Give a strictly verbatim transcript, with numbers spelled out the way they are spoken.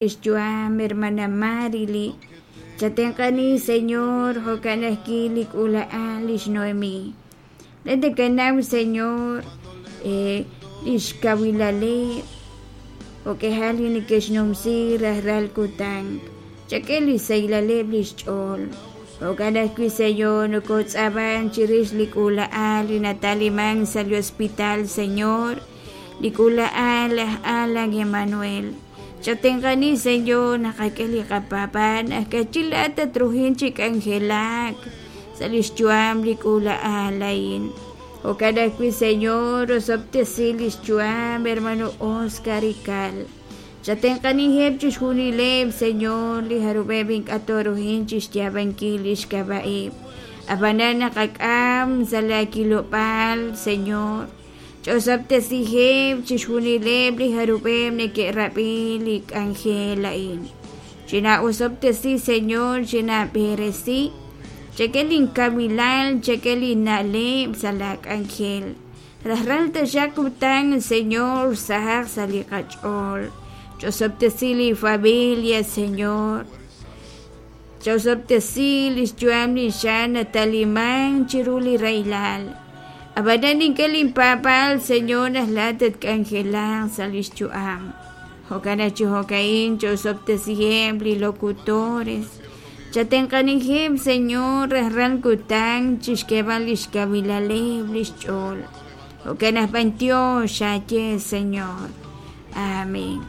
Lix yu'am hermana Marily. Chatenq'ani, Señor, jo'kan ajwi' li k'uula'al lix Noemi. Laa'at nakanaw, Señor, lix kawilaleb', jo'k'ihal li neke'xnumsi rajlal kutan. Chak'e li xsahilaleb' li xch'ool. Jo'kan ajwi', Señor, nokotz'aaman chirix li k'uula'al li nataliman sa' li hospital, Señor, li k'uula'al aj Alan Emanuel. Chatenq'ani, Señor, naqak'e li qapaab'aal naq ka'ajwi' laa'at tatruhin chi k'anjelak sa' lix yu'am li k'uula'al a'in. Jo'kan ajwi', Señor, osob'tesi lix yu'am hermano Oscar Ical. Chatenq'aniheb' chixjunileb', Señor, li jarub'eb' ink'a' tooruhin chixyaab'ankil lix k'ab'a'eb'. Ab'anan naqak'am sa' laakilob'aal, Señor. Ch'osob'tesiheb' chixjunileb' li jarub'eb' neke'rab'i li k'anjel a'in. Chinaa'osob'tesi, Señor, chinaab'eresi. Chak'e linkawilal, chak'e linna'leb' sa' laak'anjel. Rajlal taxaq kutan, Señor, sahaq sa' li qach'ool. Ch'osob'tesi li familia, Señor. Ch'osob'tesi li xyu'am li xan nataliman chiru li rahilal. Ab'anan nink'e linpaab'aal, Señor, naq laa'at tatk'anjelaq sa' li xyu'am. Jo'kan naq chi jo'ka'in ch'osob'tesiheb' li locutores. Chatenq'aniheb', Señor, rajlal kutan chixk'eeb'al li xkawilaleb' li xch'ool. Jo'kan naq b'antiox xaaye, Señor. Amén.